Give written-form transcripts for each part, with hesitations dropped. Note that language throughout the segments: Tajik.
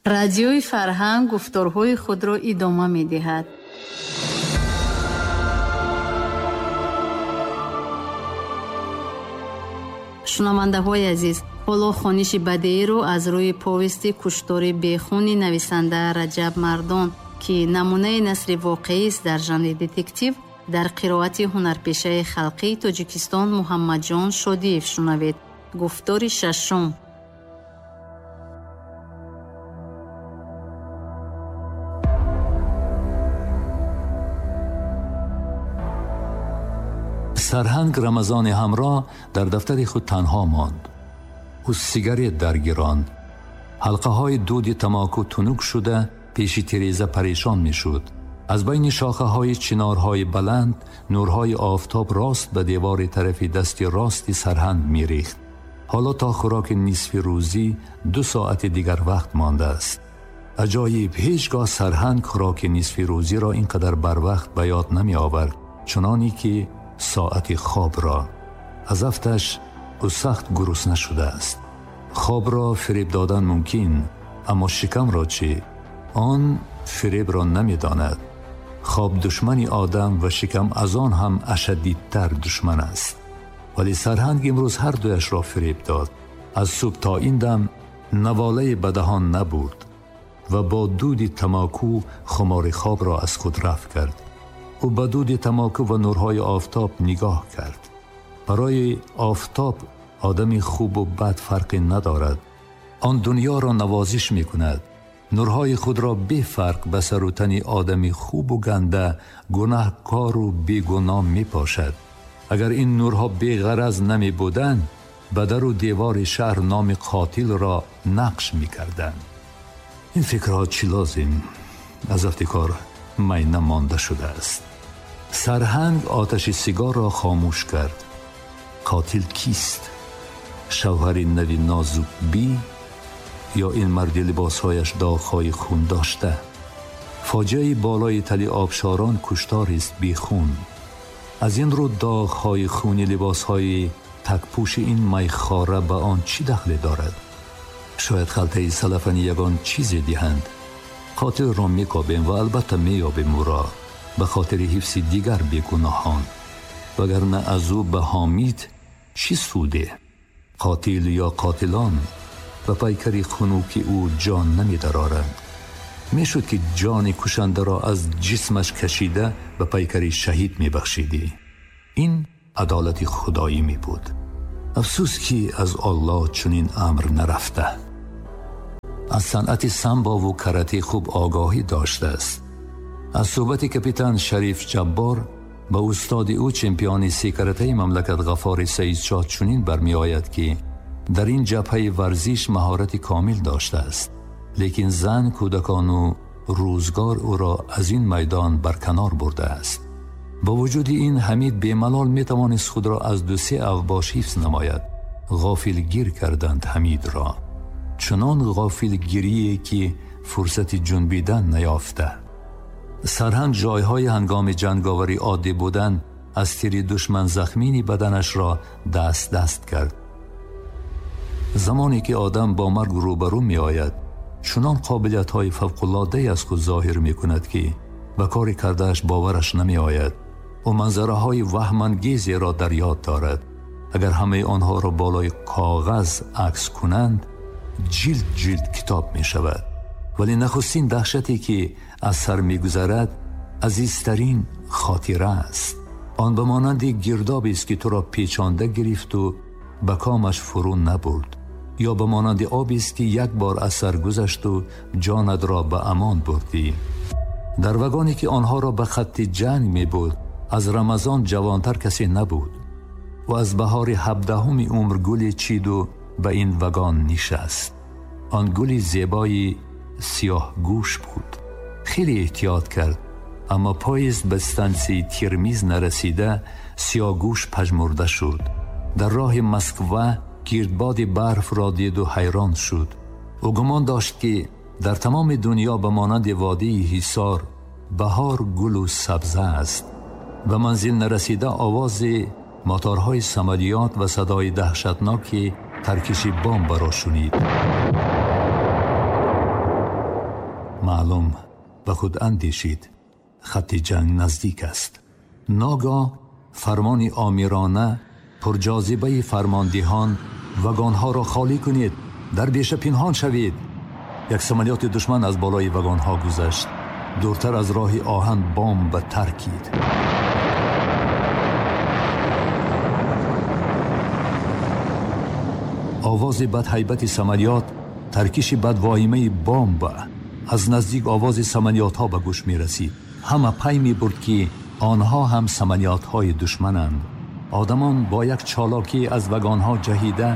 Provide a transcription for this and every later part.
Радиои Фарҳанг гуфторҳои худро идома медиҳад. Шунавандаҳои азиз, ҳоло хониши бадеиро аз рӯи повести «Куштори бехуни» нависанда Раҷаб Мардон, ки намунаи насри воқеист дар жанри детектив, дар қироати ҳунарпешаи халқии Тоҷикистон Муҳаммадҷон Шодиев шунавед. Гуфтори шашум. Сарҳанг Рамазони ҳамроҳ дар дафтари худ танҳо монд. Ӯ сигарет даргиронд. Ҳалқаҳои дуди тамоку тунук шуда пеши тиреза парешон мешуд. Аз байни шохаҳои чинорҳои баланд нурҳои офтоб рост ба девори тарафи дасти рости сарҳанг мерехт. Ҳоло то хӯроки нисфи рӯзӣ 2 соати дигар вақт мондааст. Аҷоиб, ҳеҷ гоҳ сарҳанг хӯроки нисфи рӯзиро ин қадар барвақт ба ёд намеовард, чуноне ки соати хобро. Аз афташ ӯ сахт гурусна шудааст. Хобро фиреб додан мумкин, аммо шикамро чӣ? Он фиребро намедонад. Хоб душмани одам ва шикам аз он ҳам ашаддидтар душман аст. Вале сарҳанг имрӯз ҳар дуяшро фиреб дод. Аз субҳ то ин дам наволаи ба даҳон набурд ва бо дуди тамоку хумори хобро аз худ рафт кард. Ӯ ба дуди тамоку ва нурҳои офтоб нигоҳ кард. Барои офтоб одами хубу бад фарқе надорад. Он дунёро навозиш мекунад. Нурҳои худро бефарқ ба сару тани одами хубу ганда, гунаҳкору бегуноҳ мепошад. Агар ин нурҳо беғараз намебуданд, ба дару девори шаҳр номи қотилро нақш мекарданд. Ин фикрҳо чӣ лозим? Аз афти кор майна монда шудааст. Сарҳанг оташи сигорро хомӯш кард. Қотил кист? Шавҳари нави Нозукбӣ ё ин марди либосҳояш доғҳои хун дошта? Фоҷиаи болои тали обшорон кушторест бехун. Аз ин рӯ доғҳои хуни либосҳои такпӯши ин майхора ба он чӣ дахле дорад? Шояд халтаи салафани ягон чизе диҳанд. Қотилро мекобем ва албатта меёбем ӯро ба хотири ҳифзи дигар бегуноҳон. Вагарна аз ӯ ба ҳомид чӣ суде? Қотил ё қотилон ба пайкари хунуки ӯ ҷон намедароранд. Мешуд ки ҷони кушандаро аз ҷисмаш кашида ба пайкари шаҳид мебахшидӣ. Ин адолати худоӣ мебуд. Афсӯс ки аз Аллоҳ чунин амр нарафта. Аз санъати самбову карате хуб огоҳӣ доштааст. Аз суҳбати капитан Шариф Ҷаббор ба устоди ӯ чемпиони секаратаи мамлакат Ғаффори Саидшоҳ чунин бармеояд, ки дар ин ҷабҳаи варзиш маҳорати комил доштааст, лекин зан, кӯдакону рӯзгор ӯро аз ин майдон барканор бурдааст. Бо вуҷуди ин Ҳамид бемалол метавонист худро аз 2-3 авбош ҳифз намояд. Ғофилгир карданд Ҳамидро, чунон ғофилгирие ки фурсати ҷунбидан наёфта. Сарҳанг ҷойҳои ҳангоми ҷанговарӣ оддӣ будан аз тири душман захмини баданашро даст даст кард. Замоне ки одам бо марг рӯбарӯ меояд, чунон қобилиятҳои фавқулоддае аз худ зоҳир мекунад, ки ба кори кардааш бовараш намеояд. Ӯ манзараҳои ваҳмангезеро дар ёд дорад. Агар ҳамаи онҳоро болои коғаз акс кунанд, ҷилд ҷилд китоб мешавад. Вале нахустин даҳшате ки аз сар мегузарад, азизтарин хотира аст. Он ба монанди гирдобест ки туро печонда гирифту ба комаш фурӯ набурд, ё ба монанди обест ки як бор аз сар гузашту ҷонатро ба амон бурдӣ. Дар вагоне ки онҳоро ба хатти ҷанг мебурд, аз Рамазон ҷавонтар касе набуд. Ӯ аз баҳори 17-уми умр гуле чиду ба ин вагон нишаст. Он гули зебои сиёҳгӯш буд. Хеле эҳтиёт кард, аммо поезд ба стансияи Термиз нарасида сиёҳгӯш пажмурда шуд. Дар роҳи Москва гирдбоди барфро диду ҳайрон шуд. Ӯ гумон дошт, ки дар тамоми дунё ба монанди водии Ҳисор баҳор гулу сабза аст. Ба манзил нарасида овози моторҳои самолиёт ва садои даҳшатноки таркиши бомбаро шунид. Маълум, ба худ андешид, хатти ҷанг наздик аст. Ногоҳ фармони омирона, пурҷозибаи фармондиҳон: вагонҳоро холӣ кунед, дар беша пинҳон шавед. Як самолёти душман аз болои вагонҳо гузашт. Дуртар аз роҳи оҳан бомб таркид. Овози бадҳайбати самолёт, таркиши бадвоимаи бомб, аз наздик овози самолётҳо ба гӯш мерасид. Ҳама пай мебурд, ки онҳо ҳам самолётҳои душмананд. Одамон бо як чолокӣ аз вагонҳо ҷаҳида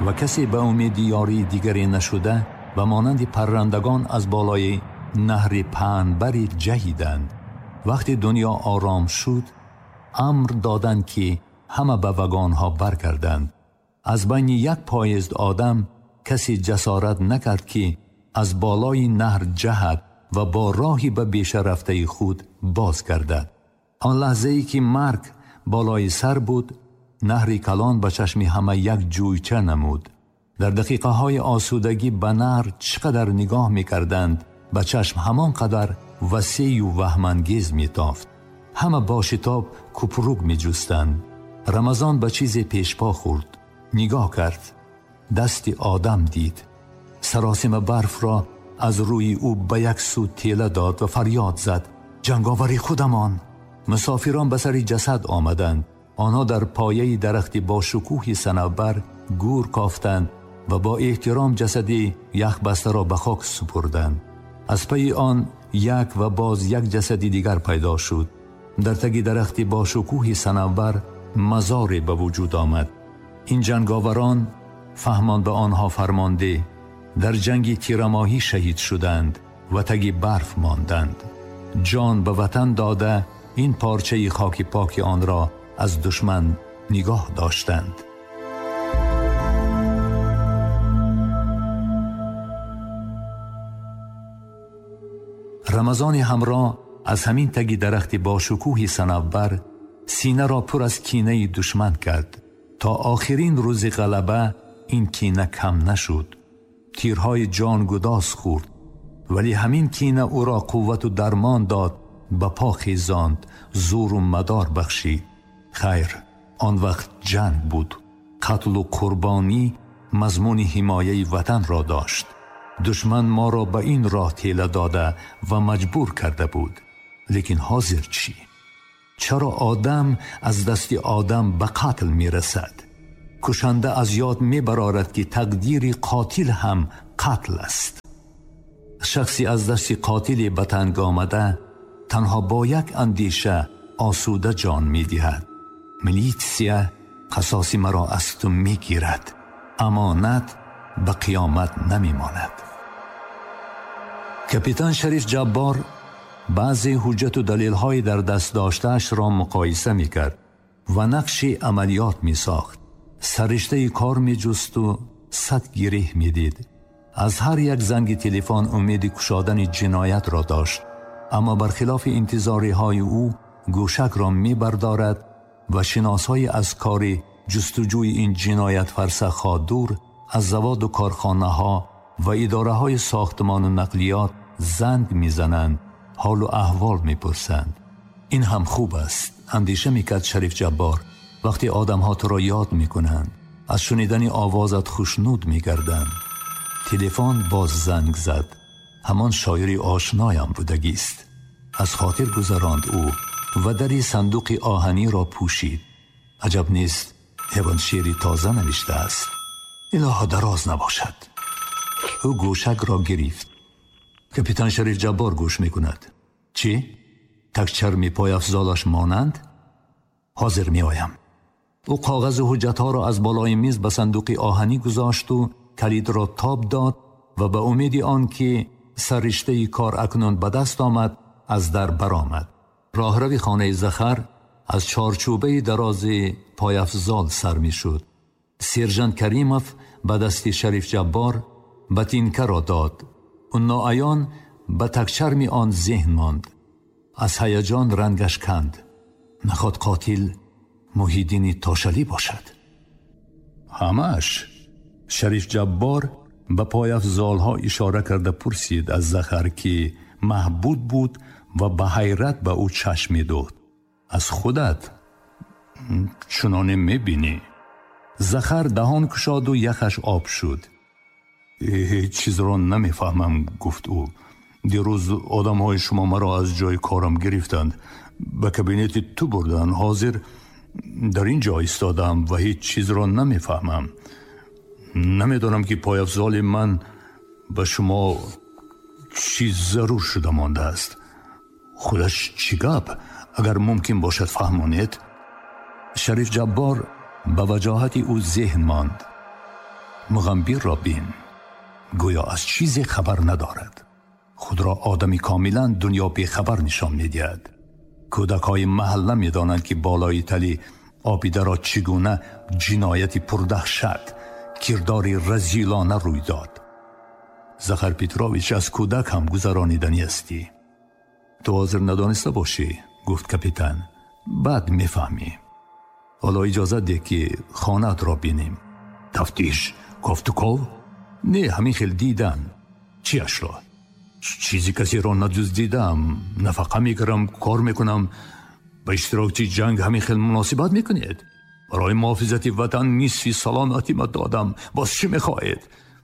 ва касе ба умеди ёрии дигаре нашуда, ба монанди паррандагон аз болои наҳри паҳнбари ҷаҳиданд. Вақте дунё ором шуд, амр доданд, ки ҳама ба вагонҳо баргарданд. Аз байни як поезд одам касе ҷасорат накард, ки аз болои наҳр ҷаҳад ва бо роҳи ба беша рафтаи худ боз гардад. Он лаҳзае ки марг болои сар буд, наҳри калон ба чашми ҳама як ҷӯйча намуд. Дар дақиқаҳои осудагӣ ба наҳр чӣ қадар нигоҳ мекарданд, ба чашм ҳамон қадар васеъю ваҳмангез метофт. Ҳама бо шитоб купрук меҷустанд. Рамазон ба чизе пешпо хӯрд. Нигоҳ кард. Дасти одам дид. Саросима барфро аз рӯи ӯ ба як сӯ тела дод ва фарёд зад: ҷанговари худамон! Мусофирон ба сари ҷасад омаданд. Онҳо дар пояи дарахти бо шукӯҳи санавбар гӯр кофтанд ва бо эҳтиром ҷасади яхбастаро ба хок супурданд. Аз пайи он як ва боз як ҷасади дигар пайдо шуд. Дар таги дарахти бо шукӯҳи санавбар мазоре ба вуҷуд омад. Ин ҷанговарон, фаҳмон ба онҳо фармонде, дар ҷанги тирамоҳӣ шаҳид шуданд ва таги барф монданд. Ҷон ба ватан дода, ин порчаи хоки поки онро аз душман нигоҳ доштанд. Рамазони ҳамроҳ аз ҳамин таги дарахти бо шукӯҳи санавбар синаро пур аз кинаи душман кард. То охирин рӯзи ғалаба ин кина кам нашуд. Тирҳои ҷонгудоз хӯрд, вале ҳамин кина ӯро қуввату дармон дод, ба по хезонд, зӯру мадор бахшид. Хайр, он вақт ҷанг буд. Қатлу қурбонӣ мазмуни ҳимояи ватанро дошт. Душман моро ба ин роҳ тела дода ва маҷбур карда буд. Лекин ҳозир чӣ? Чаро одам аз дасти одам ба қатл мерасад? Кушанда аз ёд мебарорад, ки тақдири қотил ҳам қатл аст. Шахси аз дасти қотиле ба танг омада танҳо бо як андеша осуда ҷон медиҳад: милитсия қасоси маро аз ту мегирад, амонат ба қиёмат намемонад. Капитан Шариф Ҷаббор баъзе ҳуҷҷату далелҳои дар даст доштаашро муқоиса мекард ва нақши амалиёт месохт. Сарриштаи кор меҷусту 100 гиреҳ медид. Аз ҳар як занги телефон умеди кушодани ҷиноятро дошт, аммо бархилофи интизориҳои ӯ гӯшакро мебардорад ва шиносҳои аз кори ҷустуҷӯи ин ҷиноят фарсахҳо дур аз заводу корхонаҳо ва идораҳои сохтмону нақлиёт занг мезананд, ҳолу аҳвол мепурсанд. Ин ҳам хуб аст, андеша мекард Шариф Ҷаббор. Вақте одамҳо туро ёд мекунанд, аз шунидани овозат хушнуд мегарданд. Телефон боз занг зад. Ҳамон шоири ошноям будагист. Аз хотир гузаронд ӯ ва дари сандуқи оҳаниро пӯшид. Аҷаб нест, ҳевон шеъри тоза навиштааст. Илоҳо дароз набошад. Ӯ гӯшакро гирифт. Капитан Шариф Ҷаббор гӯш мекунад. Чӣ? Такчарми пойафзолаш монанд? Ҳозир меоям. Ӯ коғазу ҳуҷҷатҳоро аз болои миз ба сандуқи оҳанӣ гузошту калидро тоб дод ва ба умеди он ки сарриштаи кор акнун ба даст омад, аз дар баромад. Роҳрави хонаи Захар аз чорчӯбаи дарози пойафзол сар мешуд. Сержант Каримов ба дасти Шариф Ҷаббор ботинкаро дод. Ӯ ноаён ба такчарми он зеҳн монд. Аз ҳаяҷон рангаш канд. Наход қотил Муҳиддини Тошалӣ бошад. Ҳамаш. Шариф Ҷаббор Ба пойафзолҳо ишора карда пурсид аз Захар, ки маҳбуд буд ва ба ҳайрат ба ӯ чашм медухт: аз худат чуноне мебинӣ? Захар даҳон кушоду яхаш об шуд. Ҳеҷ чизро намефаҳмам, гуфт ӯ. Дирӯз одамҳои шумо маро аз ҷои корам гирифтанд, ба кабинети ту бурданд. Ҳозир дар ин ҷо истодам ва ҳеҷ чизро намефаҳмам. Намедонам, ки пойафзоли ман ба шумо чиз зарур шуда мондааст. Худаш чӣ гап? Агар мумкин бошад, фаҳмонед. Шариф Ҷаббор ба ваҷоҳати ӯ зеҳн монд. Муғамбирро бин, гӯё аз чизе хабар надорад. Худро одами комилан дунё бехабар нишон медиҳад. Кӯдакҳои маҳалла медонанд, ки болои тали обидаро чӣ гуна ҷинояти пурдаҳшат, кирдори разилона рӯй дод. Захар Петрович, аз кӯдак ҳам гузарониданӣ ҳастӣ. Ту ҳозир надониста бошӣ, гуфт капитан. Баъд мефаҳмӣ. Ҳоло иҷозат деҳ, ки хонаатро бинем. Тафтиш, кофтуков? Не, ҳамин хел дидан. Чиашро? Чизи касеро надуздидам, нафақа мекунам, кор мекунам. Ба иштирокчи ҷанг ҳамин хел муносибат мекунед? Барои муҳофизати ватан нисфи саломатима додам. Боз чӣ мехоҳед?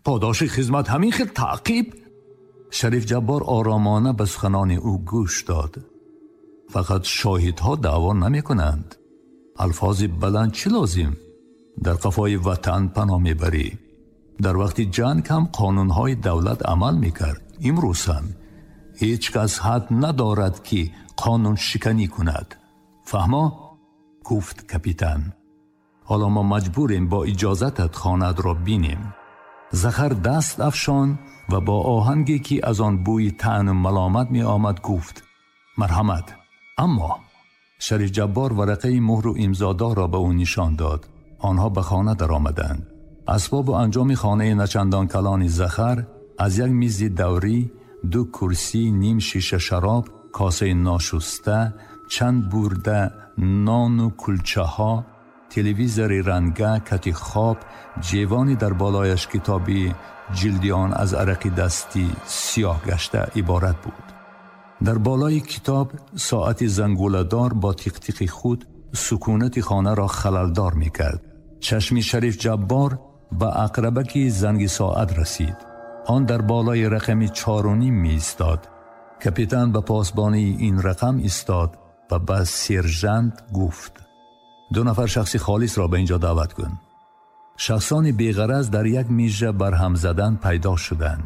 Подоши хизмат ҳамин хел таъқиб? Шариф Ҷаббор оромона ба суханони ӯ гӯш дод. Фақат шоҳидҳо даъво намекунанд. Алфози баланд чӣ лозим? Дар қафои ватан паноҳ мебарӣ. Дар вақти ҷанг ҳам қонунҳои давлат амал мекард. Имрӯз ҳам ҳеҷ кас ҳад надорад, ки қонуншиканӣ кунад. Фаҳмо? Гуфт капитан. Ҳоло мо маҷбурем бо иҷозатат хонаатро бинем. Захар даст афшон ва бо оҳанге, ки аз он бӯи таъну маломат меомад, гуфт: марҳамат. Аммо Шариф Ҷаббор варақаи муҳру имзодорро ба ӯ нишон дод. Онҳо ба хона даромаданд. Асбобу анҷоми хонаи начандон калони Захар аз як мизи даврӣ, ду курсӣ, ним шиша шароб, косаи ношуста, чанд бурда нону кулчаҳо, телевизори ранга, кати хоб, ҷевони дар болояш китоби ҷилди он аз арақи дастӣ сиёҳ гашта иборат буд. Дар болои китоб соати зангуладор бо тиқтиқи худ сукунати хонаро халалдор мекард. Чашми Шариф Ҷаббор ба ақрабаки занги соат расид. Он дар болои рақами 4:30 меистод. Капитан ба посбонии ин рақам истод ва ба сержант гуфт: ду нафар шахси холисро ба инҷо даъват кун. Шахсони беғараз дар як мижа барҳам задан пайдо шуданд.